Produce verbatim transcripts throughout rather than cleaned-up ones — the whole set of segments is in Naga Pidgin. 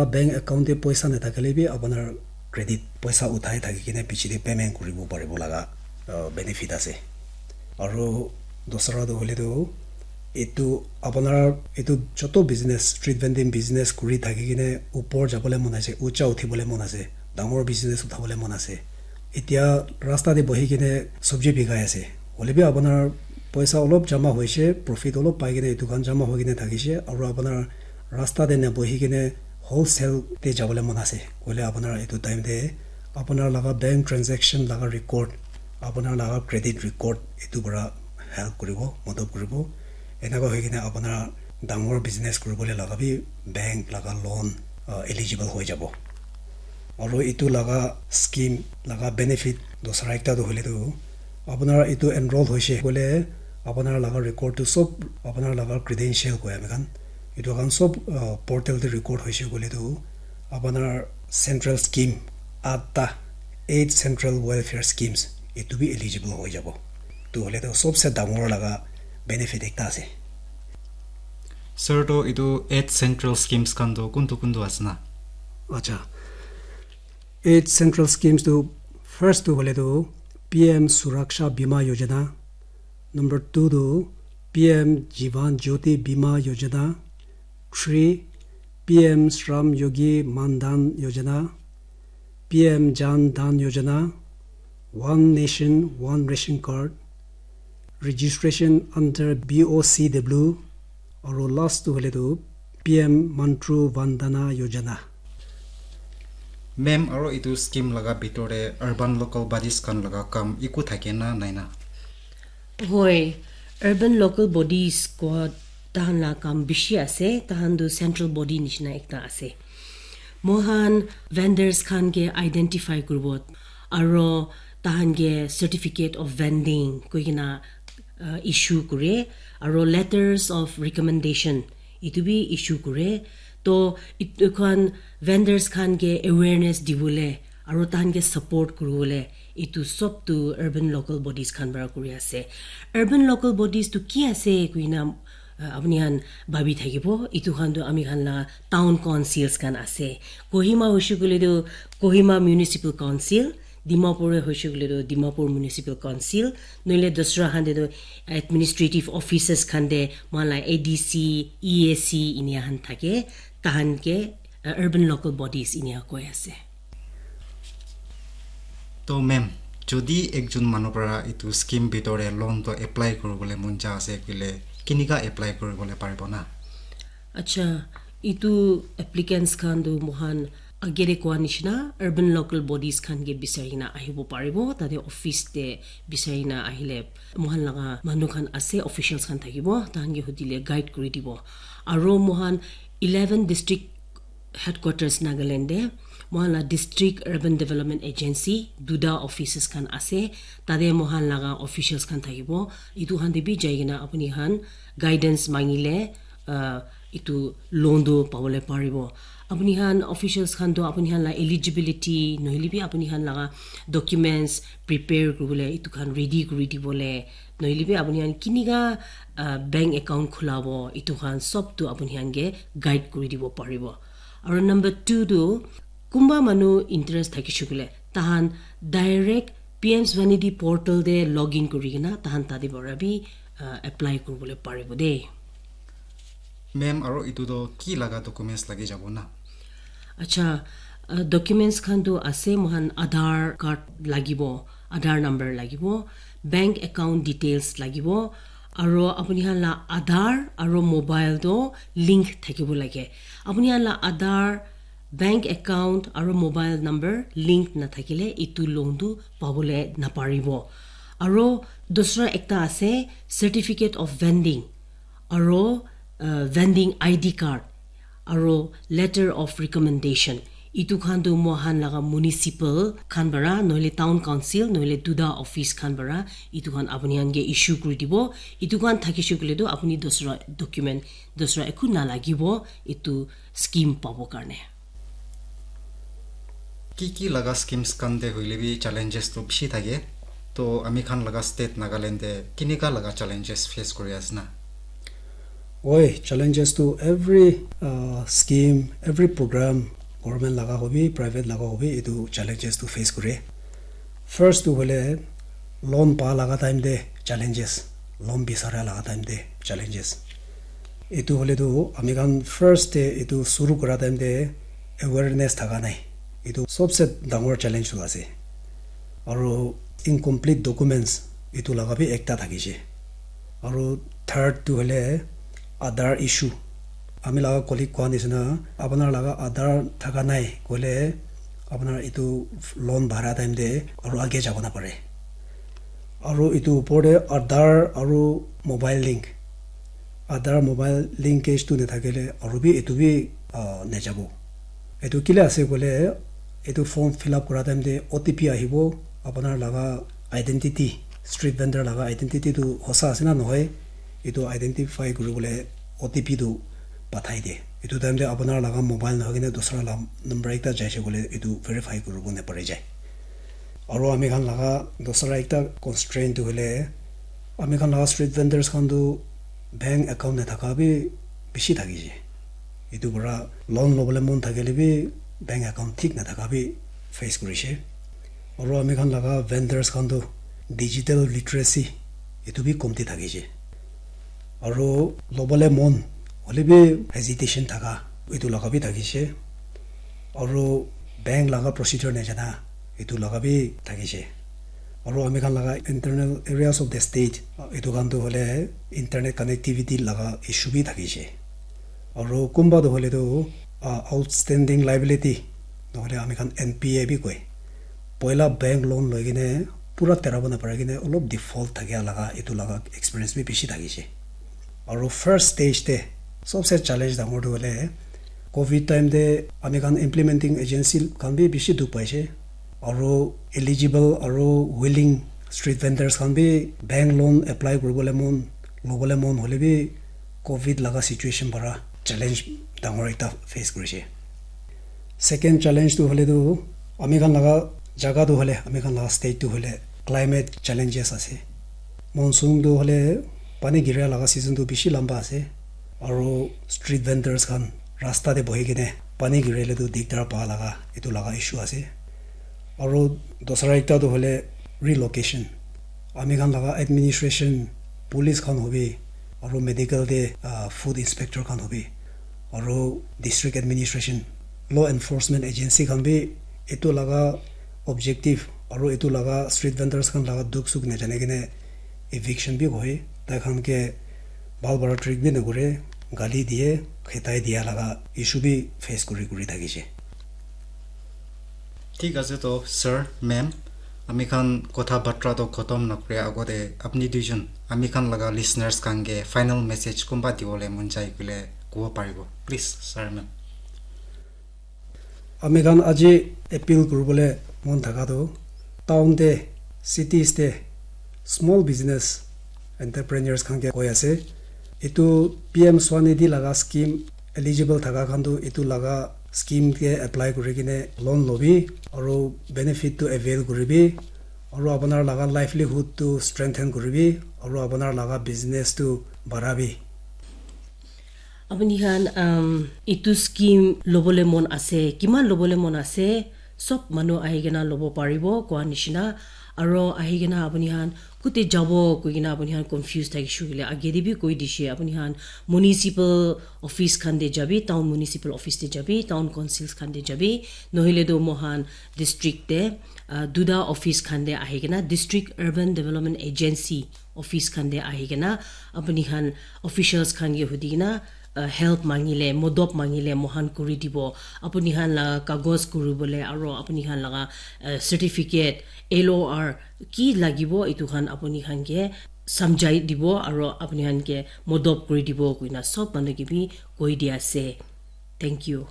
Bank account te poisa nathakile bi apunar credit poisa uthai thaki kene piche te payment kuribo paribo laga, uh, benefit ase. Aru dusra tu hoile tu etu apunar etu joto business, street vending business kuri thaki kene upor jabole mon ase, ucha uthibole mon ase, dangor business uthabole mon ase. Etia rasta te bohi kene sobji bikai ase. Hoile bi apunar poisa olop jama hoise, profit olop pai kene etu khan jama hoi kene thakise, aru apunar rasta te na bohi kene wholesale te jabole mon ase. Hoile apunar etu time te apunar laga bank transaction laga record, apunar laga credit record etu para help kuribo, madad kuribo. Enaka hoi kene apunar dangor business kuribole laga bi bank laga loan, uh, eligible hoi jabo. Aru etu laga scheme laga benefit dusra ekta tu hoile tu apunar etu enroll hoise koile apunar laga record tu sob apunar laga credential koi ami khan etu khan sob, uh, portal te record hoise koile tu apunar central scheme atta eight central welfare schemes etu bi eligible hoi jabo. Tu hoile tu sobse dangor laga benefit ekta ase. Sir, to etu eight central schemes khan to kuntu kuntu ase na? Acha. Eight central schemes tu first tu hoile tu P M Suraksha Bima Yojana, number two tu P M Jivan Jyoti Bima Yojana, three P M Shram Yogi Mandan Yojana, P M Jan Dhan Yojana, One Nation One Ration Card, registration under B O C W, aru last tu hoile tu P M Mantru Vandana Yojana. Ma'am, aru etu scheme laga bitor te urban local bodies khan laga kam eku thake na nai na? Hoi, urban local bodies ko tahan la kam bishi ase, tahan tu central body nishina ekta ase. Mohan vendors khan ke identify kuribo, aro tahan ke certificate of vending koi kena, uh, issue kure, aro letters of recommendation itu bi issue kure. To itu khan vendors khan ke awareness dibole aro tahan ke support kuribole itu sob tu urban local bodies khan para kuri ase. Urban local bodies tu ki ase kuina, uh, apni khan bhabi thakibo, itu khan tu ami khan la town councils khan ase. Kohima hoishe koile tu Kohima Municipal Council, Dimapur hoishe koile tu Dimapur Municipal Council, noile dusra khan te tu administrative offices khan te mohan la A D C, E A C inia khan thake, tahan ke, uh, urban local bodies inia koi ase. To ma'am, jodi ekjon manu para itu scheme bitor te loan to apply kuribole mon ja ase koile, kinika apply kuribole paribo na? Acha, itu applicants khan tu mohan agere koa nishina urban local bodies khan ke bisari na ahibo paribo, tate office te bisari na ahile mohan laga manu khan ase, officials khan thakibo, tahan ke hudile guide kuri dibo. Aro mohan eleven district headquarters Nagaland te mohan la District Urban Development Agency duta offices khan ase, tate mohan laga officials khan thakibo. Itu khan te bi jai kena apuni khan guidance mangile, uh, itu loan tu pabole paribo. Apuni khan officials khan tu apuni khan la eligibility nohile bi apuni khan laga documents prepare kuribole itu khan ready kuri dibole, nohile bi apuni khan kinika, uh, bank account khulabo, itu khan sob tu apuni khan ke guide kuri dibo paribo. Aro number two tu, kunba manu interest thakishe koile, tahan direct P M Swanidhi portal te login kuri kena tahan tate para bi, uh, apply kuribole paribo de. Ma'am, aro itu to ki laga documents lagi jabo na? Acha, uh, documents khan tu ase, mohan Aadhaar card lagibo, Aadhaar number lagibo, bank account details lagibo, aro apuni khan la Aadhaar aro mobile to link thakibo lage. Apuni khan la Aadhaar, bank account aro mobile number link nathakile itu loan tu pabole naparibo. Aro dusra ekta ase, certificate of vending, aro, uh, vending I D card, aro letter of recommendation. Itu khan tu mohan laga municipal khan para, nohile town council, nohile duta office khan para, itu khan apuni khan ke issue kuri dibo. Itu khan thakishe koile tu apuni dusra document, dusra eku nalagibo, itu scheme pabo karne. Ki ki laga schemes khan te hoile bi challenges tu bishi thake. To ami khan laga state Nagaland te kinika laga challenges face kuri ase na? Oi, challenges to every uh, scheme, every program, government laga hobi, private laga hobi, itu challenges to face kore. First tu hoile loan pa laga time te challenges, loan bisara laga time te challenges. Itu hoile tu ami khan first te itu suru kora time te awareness thaka nai. Itu sobse dangor challenge tu ase. Aru incomplete documents itu laga bi ekta thakishe. Aru third tu hoile Aadhaar issue. Ami laga colleague koa nisina, apunar laga Aadhaar thaka nai koile apunar itu loan bhara time te aru age jabo na pare. Aru itu upor te Aadhaar aru mobile link. Aadhaar mobile linkage tu nathakile aru bi itu bi uh, nejabo. Etu kile ase koile, etu form fill up kora time te O T P ahibo, apunar laga identity, street vendor laga identity tu hosa ase na nohoi, etu identify kuri bole O T P tu pathai de. Etu time te apunar laga mobile nohoi kena dusra la number ekta jaise koile etu verify kuri bo napare jai. Aru ami khan laga dusra ekta constraint tu hoile, ami khan laga street vendors khan tu bank account nathaka bi bishi thakishe. Etu para loan lobole mon thakile bi bank account thik nathaka bi face kurishe. Aru ami khan laga vendors khan tu digital literacy etu bi komti thakishe. Aru lobole mon hole bi hesitation thaka etu laga bi thakishe. Aru bank laga procedure najana etu laga bi thakishe. Aru ami khan laga internal areas of the state etu khan tu hole internet connectivity laga issue bi thakishe. Aru kumba tu hole tu uh, outstanding liability nohole ami khan N P A bi koi. Poila bank loan loi kene pura terabo napare kene olop default thakia laga etu laga experience bi bishi thakishe. Aru first stage te sobse challenge dangor tu hole covid time te ami khan implementing agency khan bi bishi dukh paishe. Aru eligible aru willing street vendors khan bi bank loan apply kuribole mon lobole mon hole bi covid laga situation para challenge dangor ekta face kurishe. Second challenge tu hole tu ami khan laga jaga tu hole ami khan laga state tu hole climate challenges ase. Monsoon tu hole pani gira laga season tu bishi lamba ase. Aru street vendors khan rasta te bohi kene pani girile tu dikdar pa laga etu laga issue ase. Aru dusra ekta tu hole relocation. Ami khan laga administration, police khan hobi, aru medical te uh, food inspector khan hobi, aru district administration, law enforcement agency khan bi etu laga objective aru etu laga street vendors khan laga dukh sukh najane kene eviction bi hoi, tai khan ke bhal para treat bi nakore, gali diye, khetai diya laga issue bi face kuri kuri thakishe. Thik ase to, sir, ma'am, ami khan kotha batra to khotom nakore agote apni duijon ami khan laga listeners khan ke final message kumba dibole mon jai koile kobo paribo, please, sir, ma'am. Ami khan aji appeal kuribole mon thaka tu town te, cities te small business entrepreneurs khan ke koi ase, etu P M Swanidhi laga scheme eligible thaka khan tu etu laga scheme ke apply kuri kene loan lobi aru benefit tu avail kuribi aru apunar laga livelihood tu strengthen kuribi aru apunar laga business tu barabi. Apuni khan um, itu scheme lobole mon ase, kiman lobole mon ase, sob manu ahi kena lobo paribo koa nishina. Aro ahi kena apuni khan kute jabo koi kena apuni khan confuse thakishe koile age te bi koi dishe. Apuni khan municipal office khan te jabi, town municipal office te jabi, town councils khan te jabi, nohile to mohan district te uh, duta office khan te ahi kena, district urban development agency office khan te ahi kena apuni khan officials khan ke hudi kena uh, help mangile, modop mangile mohan kuri dibo. Apuni khan la kagos kuri bole aro apuni khan laga uh, certificate, L O R ki lagibo, etu khan apuni khan ke samjhai dibo aro apuni khan ke modop kuri dibo koina sob manu ke bi koi di ase. Thank you.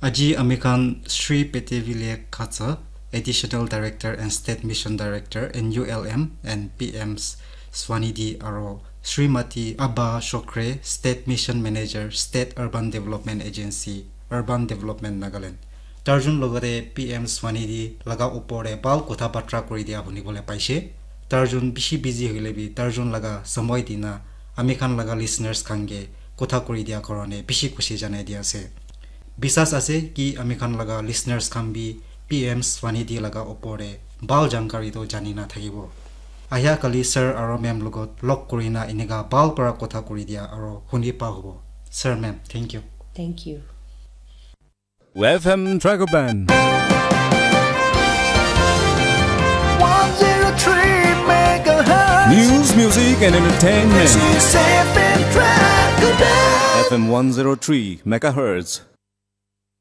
Aji ami khan Shri Petevile Khatsa, Additional Director and State Mission Director, N U L M and P M Swanidhi aro Srimati Abha Shokre, State Mission Manager, State Urban Development Agency, Urban Development Nagaland. Tarjun logate P M Swanidhi laga upor te bhal kotha batra kuri dia huni bole paise. Tarjun bishi busy hoile bi tarjun laga samoi dina ami khan laga listeners khan ke kotha kuri dia karone bishi khushi janai dia ase. Bisas ase ki ami khan laga listeners khan bi P M Swanidhi laga opor te bhal jankari to jani na thakibo. Ahia kali sir aro ma'am logot log kuri na enika bhal para kotha kuri dia aro huni pa hobo. Sir, ma'am, thank you. Thank you. F M Dragon Band. One zero three megahertz. News, music, and entertainment. This is F M Dragon Band. F M one zero three megahertz.